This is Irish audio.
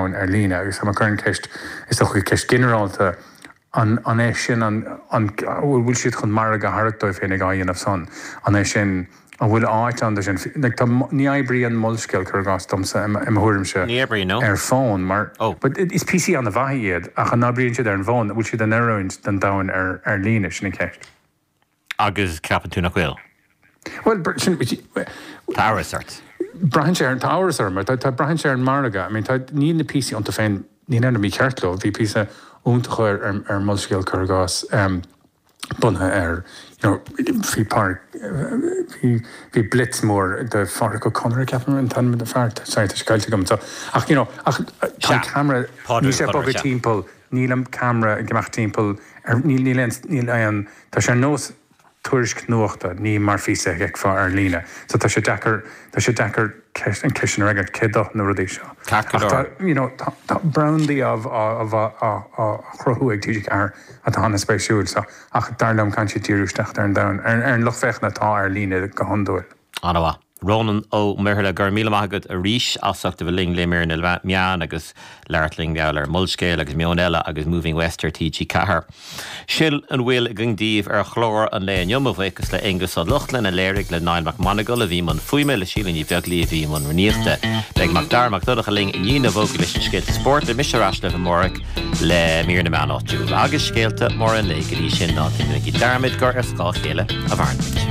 domhain ar líne agus tá mé ag cur an ceist, is dócha ceist ginearálta, an an é sin an an bhfuil siad chun margadh a tharrac dóibh féin ag á dhéanamh san? An é sin, an bhfuil áit ann do sin? Like tá, ní oibríonn Molscéal, cuir i gcás, domsa, i mo thuairimse, Ní oibríonn, no. ar fón mar, Oh. but is píosaí an-mhaithe iad ach an oibríonn siad ar an bhfón? An bhfuil siad in oiriúint don domhan ar ar líne? Sin an cheist. Agus ceapann tú nach bhfuil? Bhuel, sin, Tá amhras ort. Braitheann sé ar, tá amhras orm, tá, tá, braitheann sé ar an margadh. I mean, tá, níl na píosaí iontu féin, níl aon rud mícheart leo. Bhí píosa iontach ar, ar, ar Molscéal, cuir i gcás, em, bunaithe ar, you know, bhí páirc, bhí, bhí blitz mór de Phádraic Ó Conaire, ceapaim, an t-ainm den fear, sorry, tá sé caillte agam, so, ach, you know, ach tá an ceamara, níl sé ag bogadh timpeall, níl an ceamara ag imeacht timpeall ar, níl, níl aon, níl aon, tá sé ar nós tuairisc nuachta, ní mar phíosa a fheicfeá ar líne. So tá sé deacair, tá sé deacair ceist, an ceist sin a fhreagairt, cé do na rudaí seo. Ceart go Ach tá, you know, tá, tá brandaí á, á, á, á, á chruthú ag TG4 atá an-spéisiúil, so, ach dar liom caithfidh siad díriú isteach ar an domhan, ar, ar an lucht féachana atá ar líne go hiondúil. An-mhaith. Rónán Ó Muirthile, go raibh míle maith agat arís as ucht a bheith linn le mír na meán agus labhairt linn mar gheall ar Molscéal agus Meon Eile agus Moving West ar TG4. Sin a bhfuil againn daoibh ar chlár an lae inniu, mo bhuíochas le Aonghus Ó Lochlainn a léirigh, le Niall Mac Monagail a bhí i mbun fuaime, le Síle Ní Bheaglaoí a bhí i mbun rúnaíochta. Beidh Mac Dara Mac Donncha linn i ndiaidh na bhfógraí leis na scéalta spóirt, beidh mise ar ais libh amárach le mír na meán áitiúil agus scéalta móra an lae. Go dtí sin, ná déanaigí dearmad gur ar scáth a chéile a mhaireann muid.